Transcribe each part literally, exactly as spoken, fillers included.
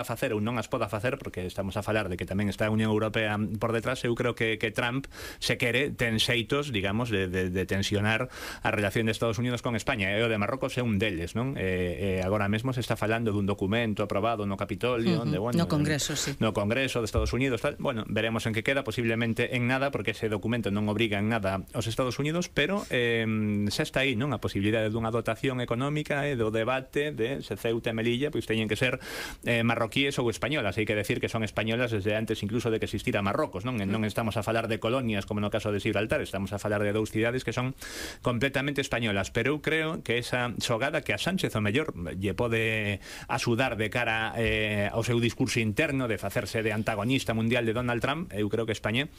a facer ou non as poda facer, porque estamos a falar de que tamén está a Unión Europea por detrás. Eu creo que, que Trump se quere ten xeitos, digamos, de, de, de tensionar a relación de Estados Unidos con España, e o de Marrocos é un deles, non? E, e agora mesmo se está falando dun documento aprobado no Capitolio, uh -huh. onde, bueno, no Congreso, sí. no Congreso de Estados Unidos, tal. Bueno, veremos en que queda, posiblemente en nada, porque ese documento non obriga en nada aos Estados Unidos, pero eh, xa está aí, non? A posibilidade dunha dotación económica e do debate de se Ceuta e Melilla pois teñen que ser eh, marroquíes ou españolas. Hai que decir que son españolas desde antes incluso de que existira Marrocos, non? Non estamos a falar de colonias como no caso de Gibraltar, estamos a falar de dous cidades que son completamente españolas, pero eu creo que esa xogada que a Sánchez o mellor lle pode axudar de cara eh, ao seu discurso interno de facerse de antagonista mundial de Donald Trump, eu creo que España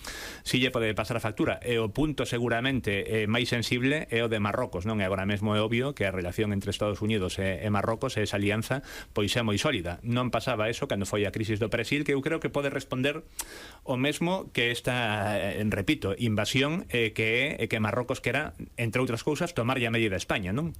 si lle pode pasar a factura, e o punto seguramente eh, máis sensible é o de Marrocos, non? E agora mesmo é obvio que a relación entre Estados Unidos e, e Marrocos, esa alianza, pois é moi sólida. Non pasaba eso cando foi a crisis do Brasil, que eu creo que pode responder o mesmo que esta, eh, repito, invasión eh, que é que Marrocos quera, entre outras cousas, tomar a medida a España, non?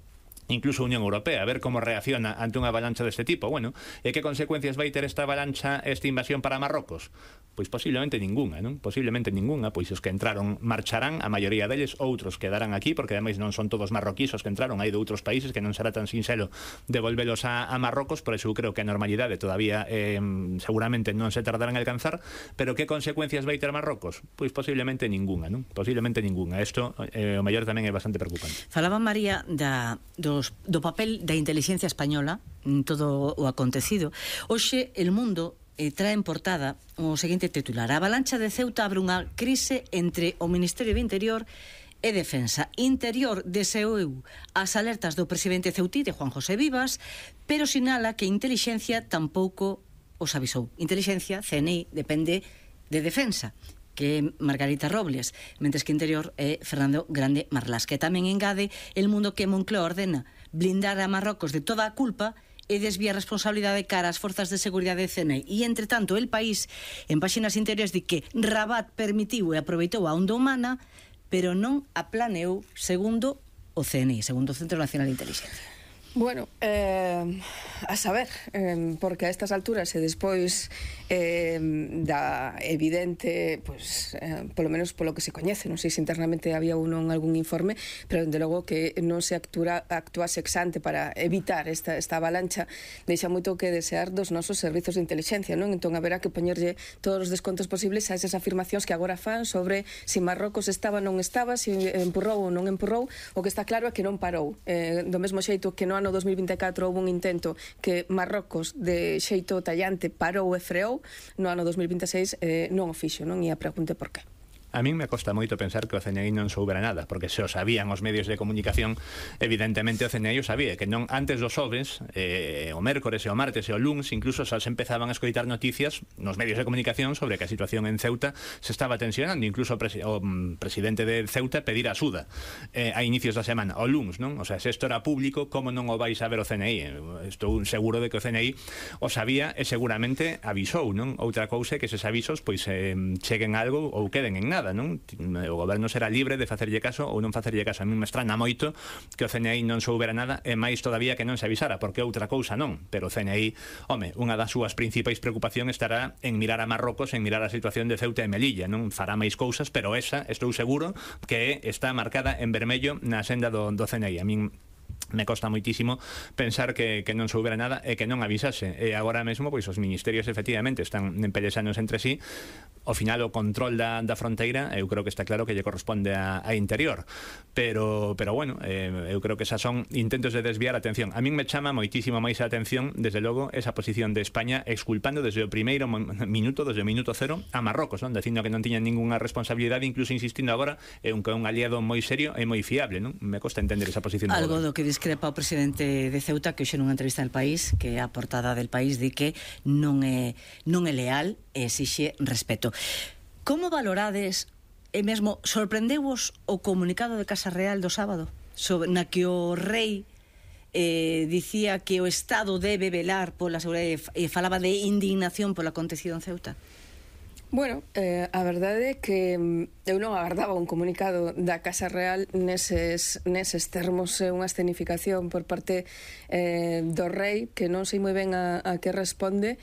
Incluso a Unión Europea, a ver como reacciona ante unha avalancha deste tipo. Bueno, e que consecuencias vai ter esta avalancha, esta invasión para Marrocos? Pois posiblemente ningunha, non? Posiblemente ningunha, pois os que entraron marcharán, a maioría deles, outros quedarán aquí, porque ademais non son todos marroquíes os que entraron, hai de outros países que non será tan sinxelo devolvelos a, a Marrocos, por eso eu creo que a normalidade todavía eh, seguramente non se tardarán en alcanzar, pero que consecuencias vai ter Marrocos? Pois posiblemente ningunha, non? Posiblemente ningunha. Isto, eh, o mellor tamén é bastante preocupante. Falaba María da, dos, do papel da inteligencia española en todo o acontecido. Hoxe, El Mundo eh, trae en portada o seguinte titular: a avalancha de Ceuta abre unha crise entre o Ministerio de Interior e Defensa. Interior deseou as alertas do presidente ceutí, de Juan José Vivas, pero sinala que Intelixencia tampouco os avisou. Intelixencia, C N I, depende de Defensa, que é Margarita Robles, mentres que Interior é Fernando Grande Marlás, que tamén engade El Mundo que Moncloa ordena blindar a Marrocos de toda a culpa e desvía a responsabilidade cara ás forzas de seguridade de C N I. E, entre tanto, El País, en páxinas interiores, di que Rabat permitiu e aproveitou a onda humana, pero non a planeou, segundo o C N I, segundo o Centro Nacional de Inteligencia. Bueno, eh, a saber, eh, porque a estas alturas e despois eh, da evidente, pues, eh, polo menos polo que se coñece, non sei se internamente había uno en algún informe, pero dende logo que non se actúa, actúa sexante para evitar esta, esta avalancha, deixa moito que desear dos nosos servizos de inteligencia, non? Entón haberá que poñerlle todos os descontos posibles a esas afirmacións que agora fan sobre se si Marrocos estaba ou non estaba, se si empurrou ou non empurrou. O que está claro é que non parou, eh, do mesmo xeito que non no dos mil vinte e catro houve un intento que Marrocos de xeito tallante parou e freou, no ano dos mil vinte e seis eh, non o fixo, non? E a pregunta por qué. A min me costa moito pensar que o C N I non soubera nada, porque se o sabían os medios de comunicación, evidentemente o C N I o sabía, que non antes dos xoves, eh, o mércores e o martes e o luns, incluso xa se empezaban a escoitar noticias nos medios de comunicación sobre que a situación en Ceuta se estaba tensionando, incluso o, presi o um, presidente de Ceuta pedir axuda eh, a inicios da semana, o luns, non? O sea, se isto era público, como non o vais a ver o C N I? Estou seguro de que o C N I o sabía e seguramente avisou, non? Outra cousa é que eses avisos pois eh, cheguen algo ou queden en nada, non? O goberno será libre de facerlle caso ou non facerlle caso. A mí me estrana moito que o C N I non soubera nada, e máis todavía que non se avisara, porque outra cousa non. Pero o C N I, home, unha das súas principais preocupacións estará en mirar a Marrocos, en mirar a situación de Ceuta e Melilla, non? Fará máis cousas, pero esa, estou seguro que está marcada en vermello na senda do, do C N I. A min me costa moitísimo pensar que, que non soubera nada e que non avisase. E agora mesmo, pois, os ministerios efectivamente están pelexanos entre sí. Ao final, o control da, da fronteira, eu creo que está claro que lle corresponde a, a Interior. Pero, pero bueno, eh, eu creo que esas son intentos de desviar a atención. A min me chama moitísimo máis a atención, desde logo, esa posición de España exculpando desde o primeiro minuto, desde o minuto cero, a Marrocos, non? Dicindo que non tiñan ninguna responsabilidade, incluso insistindo agora en que é un aliado moi serio e moi fiable, non? Me costa entender esa posición. Algo do que discrepa o presidente de Ceuta, que hoxe nunha entrevista no País, que é a portada del País, di que non é, non é leal e exixe respeto. Como valorades, e mesmo sorprendeu-vos o comunicado de Casa Real do sábado, sobre, na que o rei eh, dicía que o Estado debe velar pola seguridade e falaba de indignación polo acontecido en Ceuta? Bueno, eh, a verdade é que eu non agardaba un comunicado da Casa Real neses, neses termos, eh, unha escenificación por parte eh, do rei que non sei moi ben a, a que responde,